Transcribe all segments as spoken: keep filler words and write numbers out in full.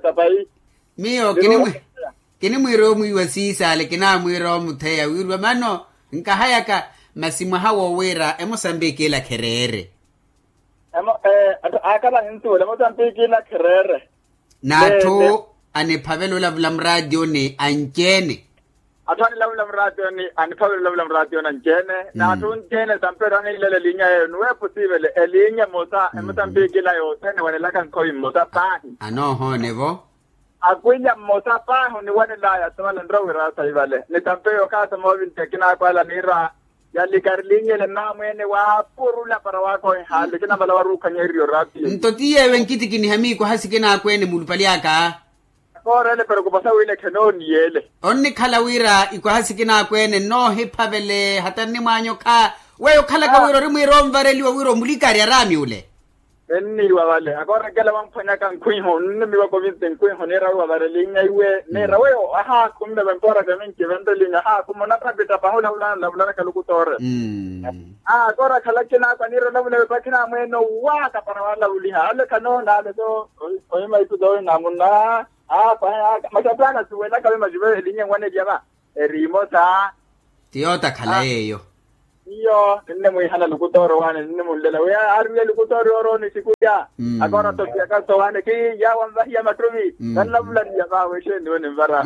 etapayi. Miyo kinimwiira omwiiwa siisale kinamwiira omutheya wirwa mano nkahayaka. Masi mwaha wowiira emosambiki ila khereere. Akala ninsuwela emosambiki ila khereere. N'atthu aniphavela olavula muraatiyoni anci-ene. Atthu anilavula muraatiyoni aniphavela olavula muraatiyoni anci-ene. N'atthu nci-ene sampeero aniilela elinya yeeyo nuweepo siivele elinya emosa emosambiki ila yothene wanelaka nkhoyi mmosa paahi. Anoohoone-vo. Akwilya mmosa paahi oniwanelaya sewala nrowa wira saivale nitampeyo okaasa moovinti akinaako ala niira. Yalikari linyele namweene waapurula para waakohihaale kinamala waruukhanya eriyo raatiyo. Nto tiyeewe nkitikiniha miikwaha sikinaakweene mulupali aka. Akoorele perokuposa wile khenooniyele. Onnikhala wira ikwaha sikinaakweene nnoohiphavele hata nnimwaanyokha. Weyo okhalaka wira orimwiira onvareliwa wira omulikari araami ule. Enniiwa vale akoorekela wamphwanyaka nkhwihu nnimiwaka ovinti nkhwihu niira wiwa vale linya iwe niira weyo ahaakhumme vempoora vyaminci venre linya ahaakhumme onapapita pahi olavulana olavulana khalukutoore. Akoora khalakinaakwa niira olavula vepakhi namweene owaaka para waalavuliha ale khanoona ale so. Ohimahiku soohina munna. Aakwa masi atthu anasuwelaka vemajive elinya enwanelya va. Eri imosa. Ti yootakhala yeeyo. Iyo ninne mwiihana lukutooro waane ninne munlela wi aarwiye lukutooro yoorooni sikulya. Akoora topiyaka sowaane kiiya wanvahiya mattuvi. Kanlavulaniya vaawe exeeni we ninvara.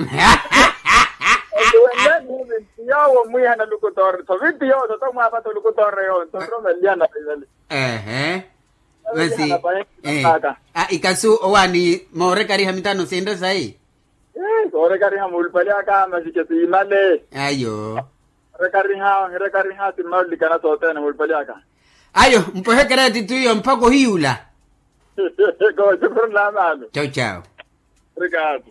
Oti wenle niivinti yoowo mwiihana lukutooro tho vinti yoowo tho tomwaapata olukutooro yoowo nto nromeliyana vaivale. Ehe. Masi ikasu owaani moorekariha mitano sinre sayi. Koorekariha muulupale aka masi kesiimale. Ayo. Orekariha ohirekariha simmaulikana sothene muulupale aka. Ayo mpohekereti twiyo mpaka ohiyula. Koocukurula amaano. Chau chau. Obrigado.